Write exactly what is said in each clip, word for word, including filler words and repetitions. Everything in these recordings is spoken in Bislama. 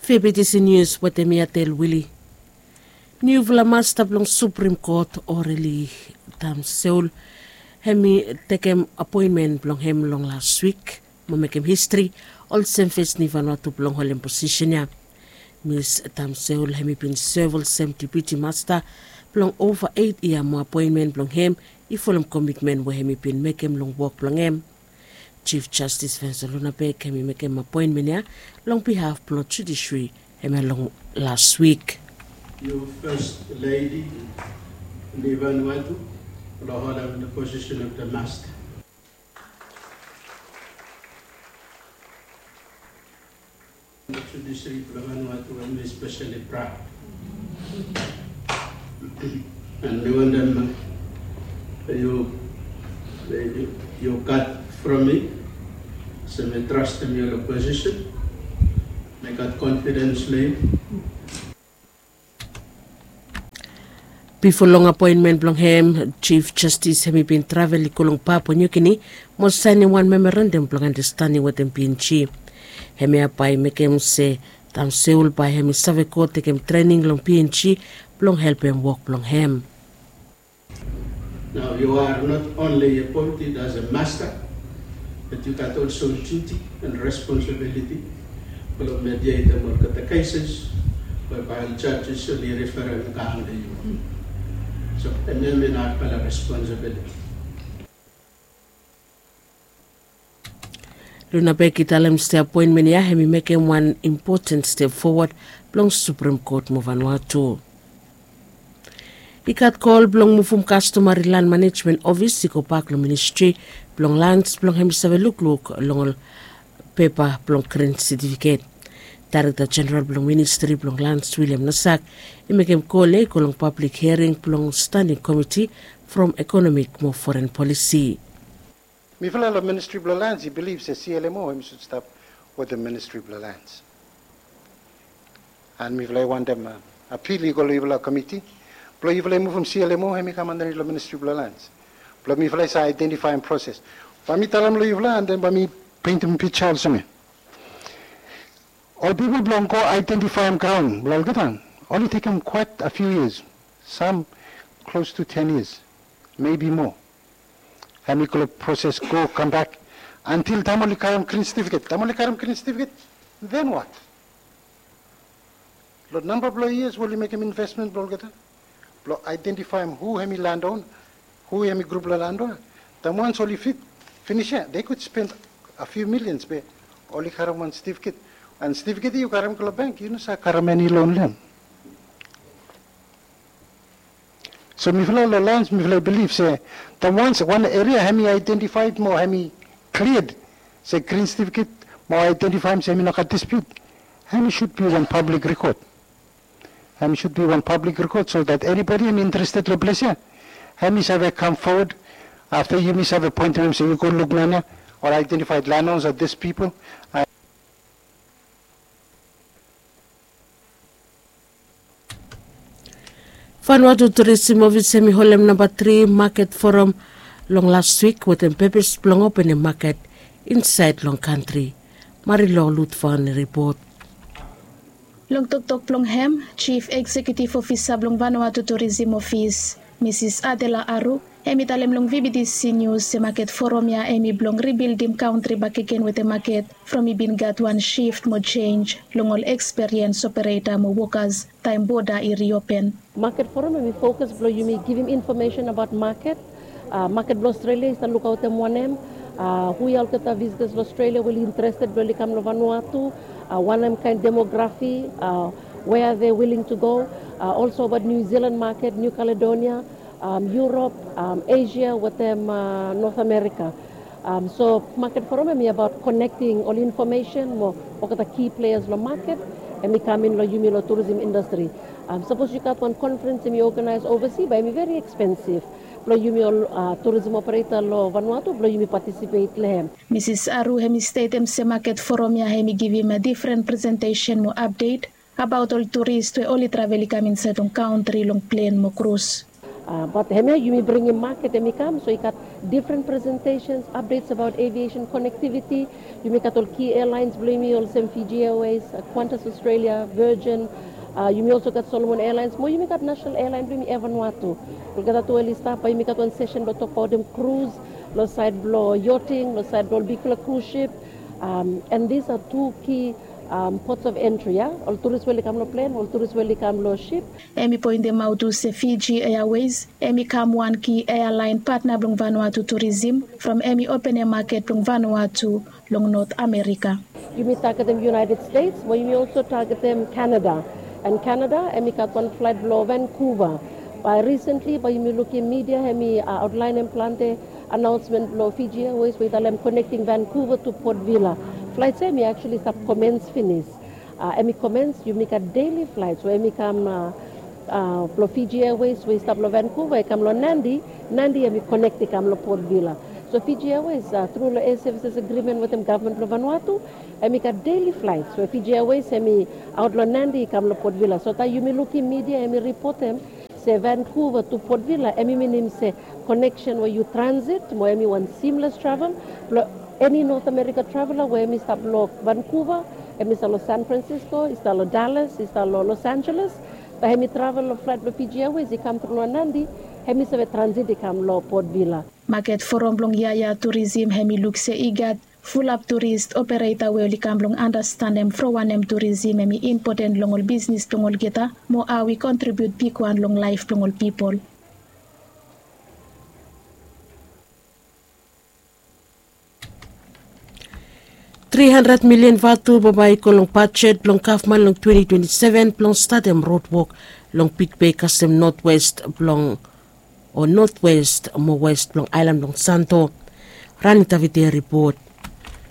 Febetisi nius wetem mi Atel Wili. Niufala masta blong Suprem Kot, Oreli Tamseul, hem i tekem apoenmen blong hem long las wik mo mekem histri olsem fes niu Vanuatu blong holem posisen ya. Mis Tamseul hem i bin sev olsem deputi masta blong ova eit yia mo apoenmen blong hem i folem komitmen we hem i bin mekem long wok blong hem. Chief Justice Vincent Lunabek hem i mekem apoenmen ya long bihaf blong judisri hemia long las wik. Your First Lady, Nivan Watu, blong holem the position of the master. Judisri blong Vanuatu, I'm especially proud. And mi wantem yu, yu gat from mi, se mi trastem yu long posisen, mi gat konfidens long yu. Bifo long apoenmen blong hem, Chief Justice hem i bin travel i go long Papua New Guinea mo saenem wan memorandum blong andastanding wetem P N G. Hemia bae i mekem se Tamseul bae hem i save go tekem trening long P N G blong helpem wok blong hem. Now, you are not only appointed as a master, but you got also duty and responsibility blong mediatem olgeta cases we bae ol judges oli referem i kam long yu. So hemia i narafala responsibility. Lunabek i talem se apoenmen ya hem i mekem wan impoten step fowod blong Suprem Kot mo Vanuatu. I gat kol blong muvum kastomari lan manejmen ofis i gobak long ministri blong lans blong hem i save lukluk long ol pepa blong grin setifiket. Daerekta Jeneral blong Ministri blong Lans, William Nasak, i mekem kol ya i go long pablik hiaring blong standing komiti from ekonomik mo foren polisi. Mifala long Ministri blong Lans i bilif se C L M O hem i sud stap wetem Ministri blong Lans. And mifala i wantem apil i go long yufala komiti blong yufala i muvum C L M O hem i kam andaret long Ministri blong Lans blong mifala i save aedentifaem proses. Bae mi talem long yufala and then bae mi peintem pija olsem ya. Ol pipol blong go aedentifaem graon blong olgeta oli tekem quite a few years, some close to ten years, maybe more. Hem i go long proses go kambak antil taem oli karem grin setifiket. Taem oli karem grin setifiket, then what? Long namba blong yias we oli mekem invesmen blong olgeta blong aedentifaem hu hem i landona, hu hem i grup blong landona. Taem wans oli fit finis ya, they could spend a few millions be oli karem wan setifiket. And setifiket ya yu karem go long bank, yu no save karem eni loan long hem. So mifala long Lans mifala i bilif se taem wans wan eria hem i aedentifaed mo hem i kliad se grin setifiket mo aedentifaem se hem i no gat dispute, hem i sud bi wan pablik rekod. Hem i sud bi wan pablik rekod so that anybody hem i interested long ples ya, hem i save kam fowod afta yumi save poentem hem se yu go luk long ya, ol aedentifaed landonas of this pipol. Vanuatu Turism Ofis hem i holem namba tri maket foram long las wik wetem pepes blong openem maket insaed long kantri. Marilou Lutfan i ripot. Long toktok blong hem, Jif Eksekiutiv Ofisa blong Vanuatu Turism Ofis, Misis Adela Aru, hem i talem long V B T C Nius se maket foram ya hem i blong ribildim kantri bakegen wetem maket from i bin gat wan sif mo jenj long ol ekspiriens opereta mo wokas taem boda i riopen. Maket foram hem i fokas blong yumi givim infomesen abaot maket. Maket blong Australia i stap lukaotem wanem, hu ya olgeta visitas long Australia we oli interested blong oli kam long Vanuatu, wanem kaen demografi, where are they willing to go, also abaot New Zealand maket, New Caledonia, Europe, Asia wetem North America. So maket foram hem i abaot konekting ol infomesen mo olgeta ki pleas long maket hem i kam in long yumi long turism indastri. Sapos yu gat wan konferens hem i oganaes ovasi bae hem i veri ekspensif blong yumi ol turism opereta long Vanuatu blong yumi patisipet long hem. Misis Aru hem i stetem se maket foram ya hem i givim difren presentesen mo apdet abaot ol turist we oli travel i kam insaed long kantri long plen mo krus. Bat hemia yumi bringim maket, hemi kam, so i gat different presentations, updates about aviation connectivity. Yumi gat ol key airlines blong yumi olsem Fiji Airways, Qantas Australia, Virgin. Yumi also gat Solomon Airlines, mo yumi gat national airline blong yumi, Air Vanuatu. Olgeta tu oli stap, bae yumi gat wan session blong tokbaotem cruise, long saed blong yachting, long saed blong ol bigfala cruise ship. And these are two key ports of entry, ya. Ol turis we oli kam long plen, ol turis we oli kam long ship. Hemi poentemaot tu se Fiji Airways hemi kam wan key airline partner blong Vanuatu tourism from hemi openem maket blong Vanuatu long North America. Yumi targetem United States, mo yumi also targetem Canada. And Canada hemi gat wan flight blong Vancouver. Bae recently bae yumi lukim media hemi outlinenem plante announcement blong Fiji Airways we i talem connecting Vancouver to Port Vila. Flights ya hemi actually stap commence finis. Hemi commence, yumi gat daily flights we hemi kam blong Fiji Airways we i stap long Vancouver i kam long Nadi. Nadi hemi connect i kam long Port Vila. So Fiji Airways tru long air services agreement wetem gavman blong Vanuatu, hemi gat daily flights we Fiji Airways hemi aot long Nadi i kam long Port Vila. So taem yumi lukim media hemi ripotem se Vancouver tu Port Vila, hemi minim se connection we yu transit mo hemi wan seamless travel blong eni North America traveler we hemi stap long Vancouver, hemi stap long San Francisco, i stap long Dallas, i stap long Los Angeles. Bae hemi travel long flight blong Fiji Airways i kam tru long Nadi, hemi save transit i kam long Port Vila. Maket forum blong yaya tourism hemi luk se i gat fulap turist opereta we oli kam blong andastanem from wanem tourism hemi impoten long ol bisnis blong olgeta, mo hao i kontribiut bigwan long laef blong ol pipol. Tri handred milian vatu bambae i go long bajet blong gavman long twenty twenty seven blong statem rod wok long Big Bay kasem notwest blong o notwest mo west blong aelan blong Santo. Rani Tavite ripot.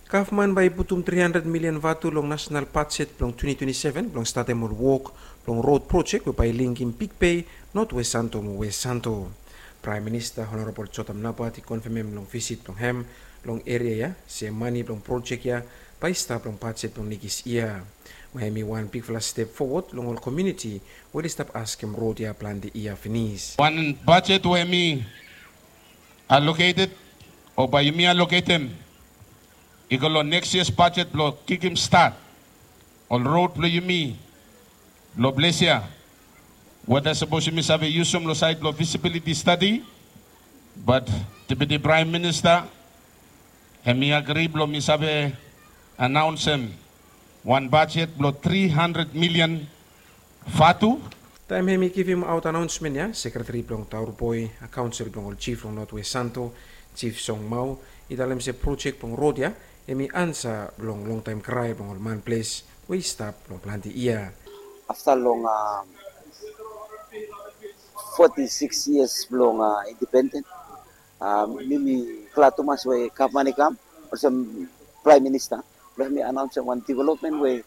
Gavman bae i putum tri handred milian vatu long nasonal bajet blong twenty twenty seven blong statem ol wok blong rod projek we bae i linkim Big Bay, notwest Santo mo west Santo. Praem Minista Honorabol Jotam Napat i konfemem long visit blong hem long eria ya se mane blong projek ya bae i stap long bajet blong nekis yia. Mo hemi wan bigfala step fowod long ol komuniti we oli stap askem rod ya plante yia finis. Wan bajet we hemi allocated o bae yumi allocatem i go long next year's budget blong kikim stat ol rod blong yumi long ples ya. Weta sapos yumi save yusum long saed blong feasibility study, bat Deputy Praem Minista hemi agri blong mi save anaonsem wan bajet blong tri handred milian vatu. Taem hemi givimaot anaonsmen ya, sekreteri blong Tauroboi, kaonsel blong ol jif long notwest Santo, Jif Song Mau, i talem se projek blong rod ya hemi ansa blong longtaem krae blong ol manples we i stap long plante yia. Afta long foti sikis yias blong indipenden, mi mi glad tumas we gavman i kam olsem Praem Minista blong hemi anaonsem wan developmen we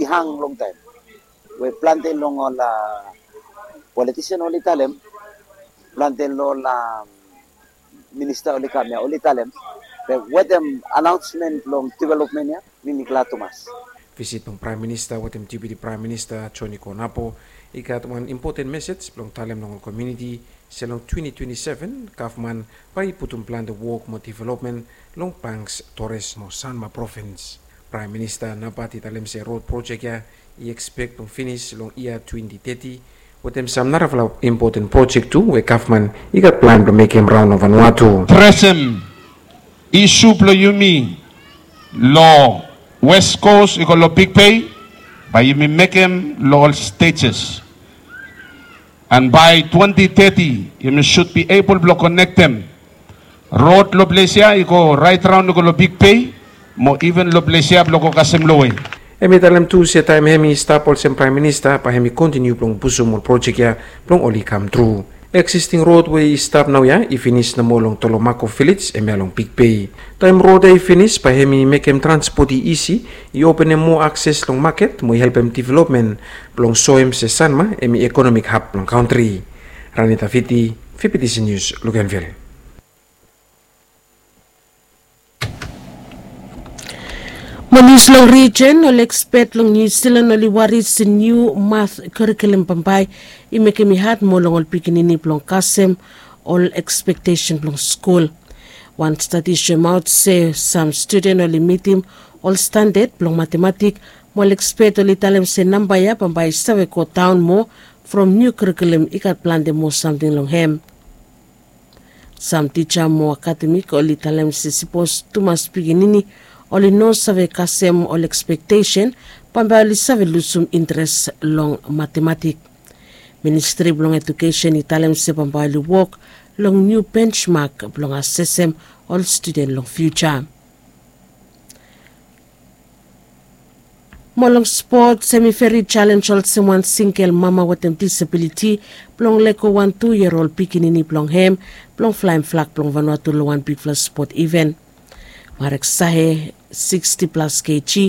i hang longtaem, we plante long ol politisen oli talem, plante long ol minista oli kam ya oli talem. Be wetem anaonsmen blong developmen ya, mi mi glad tumas. Visit blong Praem Minista wetem Deputi Praem Minista Joni Konapo i gat wan impoten mesej blong talem long ol komuniti se long twenty twenty seven gavman bae i putum plante wok mo developmen long Banks, Torres mo Sanma provins. Praem Minista Napat i talem se rod projek ya i ekspek blong finis long yia twenty thirty, wetem sam narafala impoten projek tu we gavman i gat plan blong mekem raon long Vanuatu. Adresem isu blong yumi long West Coast i go long Big Bay, bae yumi mekem long ol stejes. And by twenty thirty yumi should be able blong konektem rod long ples ya i go raet raon i go long Big Bay, mo iven long ples ya blong go kasem lowe. Hemi talem tu se taem hemi stap olsem Praem Minista bae hemi kontiniu blong pusum ol projek ya blong oli kamtru. Eksisting rod we i stap naoia i finis nomo long Tolomako vilej, hemia long Big Bay. Taem rod ya i finis bae hemi mekem transpot i isi, i openem moa akses long maket mo i helpem developmen blong soem se Sanma hemi ekonomik hab blong kantri. Rani Taviti, V B T C News, Luganville. Mo nius long rijen, ol ekspet long Niu Silan oli wari se niu math kurikulum bambae i mekem i had moa long ol pikinini blong kasem ol ekspektesen blong skul. Wan stadi i soemaot se sam studen oli mitim ol standad blong matematik, mo ol ekspet oli talem se namba ya bambae i save godaon moa from niu kurikulum i gat plante moa samting long hem. Sam tija mo akademik oli talem se sipos tumas pikinini oli no save kasem ol ekspektesen, bambae oli save lusum interes long matematik. Ministri blong ejukesen i talem se bambae oli wok long niu benjmak blong asesem ol studen long fiuja. Mo long spots, hem i veri jalenj olsem wan singel mama wetem disabiliti blong lego wan tu yia ol pikinini blong hem blong flaem flag blong Vanuatu long wan bigfala spot iven. Marek Sahe, siksti plas keji,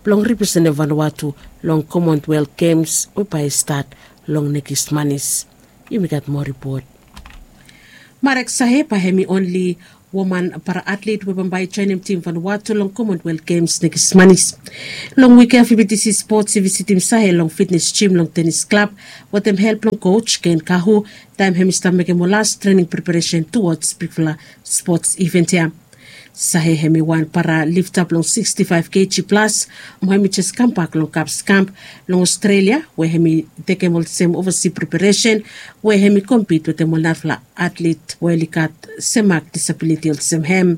blong representem Vanuatu long Commonwealth Games we bae i stat long nekis manis. Yumi gat moa ripot. Marek Sahe bae hem i onli woman para atlet we bambae i joenem tim Vanuatu long Commonwealth Games nekis manis. Long wik ya, VBTC Spots i visitim Sahe long fitnes jim long tenis klab wetem help blong koj Ken Kahu, taem hem i stap mekem ol las trening preparesen tuwods bigfala spots iven ya. Sahe hem i wan para lifta blong siksti faef keji plas, mo hem i jes kambak long kaps kamp long Australia we hem i tekem olsem ovasi preparesen we hem i kompit wetem ol narafala atlet we oli gat semak disabiliti olsem hem.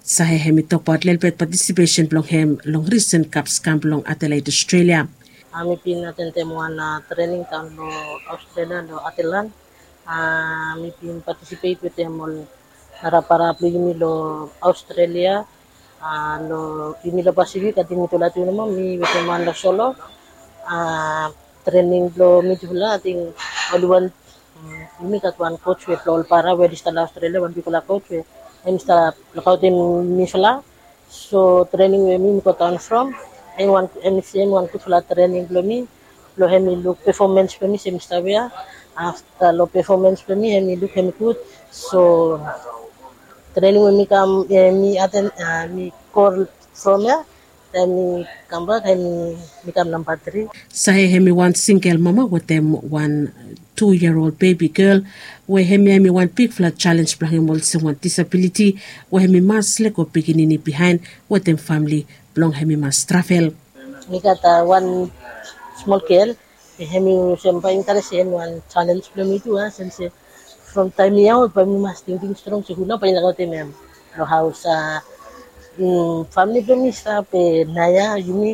Sahe hem i tokbaot lelebet patisipesen blong hem long risen kaps kamp long Adelaide, Australia. Mi bin atendem wan trening daon long Australia long Adelaide. Mi bin patisipet wetem ol narapara blong yumi long Australia. Long yumi long Pasifik ating mitufala tu nomo, mi wetem wan long solo. Trening blong mitufala ating oli wan, yumi gat wan koj we blong ol para we oli stap long Australia, wan bigfala koj we hem i stap lukaotem mifala. So trening we mi mi godaon from hem i wan, hem i sem wan gudfala trening blong mi, blong hem i luk pefomens blong mi se mi stap ya. Afta long pefomens blong mi hem i luk hem i gud. So trening we mi kam, mi aten, mi go from ya, taem mi kambak hem i mi kam namba tri. Sahe hem i wan singel mama wetem wan tu yia ol bebi gel, we hem ya hem i wan bigfala jalenj blong hem olsem wan disabiliti we hem i mas lego pikinini biaen wetem famle blong hem i mas travel. Mi gat wan smol gel, be hem i olsem bae interes se hem i wan jalenj blong mi tu, a, olsem se from taem mi aot bae mi mas tingting strong se hu nao bae i lukaotem hem long haos. Famle blong mi i stap, be naoia yumi,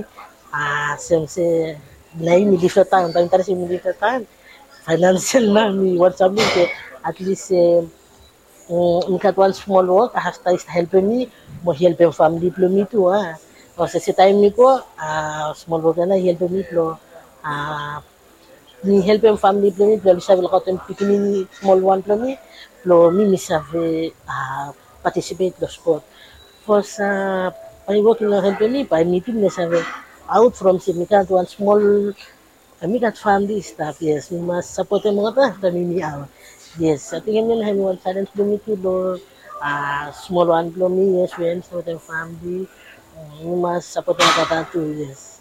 olsem se naoia yumi lif long taon, bae interes yumi lif long taon. Faenansial nao mi wan samting se atlis mi gat wan smol wok, afta i stap helpem mi mo helpem famle blong mi tu, a. Olsem se taem mi go, smol wok ya nao i helpem mi blong mi helpem famle blong mi blong oli save lukaotem pikinini smol wan blong mi, blong mi mi save patisipet long spot. Bikos bae wok i no helpem mi bae mi tu mi no save aot from se mi gat wan smol, mi gat famle i stap, yes, mi mas sapotem olgeta afta mi mi aot. Yes, ating hemia nao hem i wan jalenj blong mi tu long smol wan blong mi, yes, we hem i stap wetem famle. Mi mas sapotem olgeta tu, yes.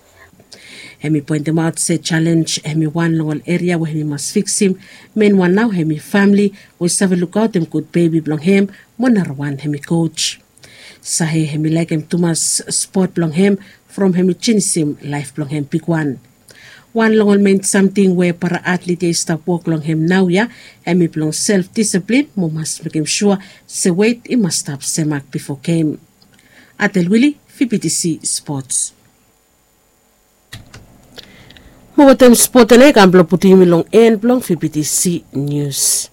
Hem i poentemaot se jalenj hem i wan long ol eria we hem i mas fiksim. Menwan nao hem i famle we i save lukaotem gud bebi blong hem, mo narawan hem i koj. Sahe hem i laekem tumas spot blong hem from hem i jenisim laef blong hem bigwan. Wan long ol men samting we para atlet ya i stap wok long hem naoia hem i blong self disiplin mo mas mekem sua se wet i mas stap semak bifo gem. Atel Wili, VBTC Spots. Mo wetem spot ya nao i kam blong putum yumi long en blong VBTC Nius.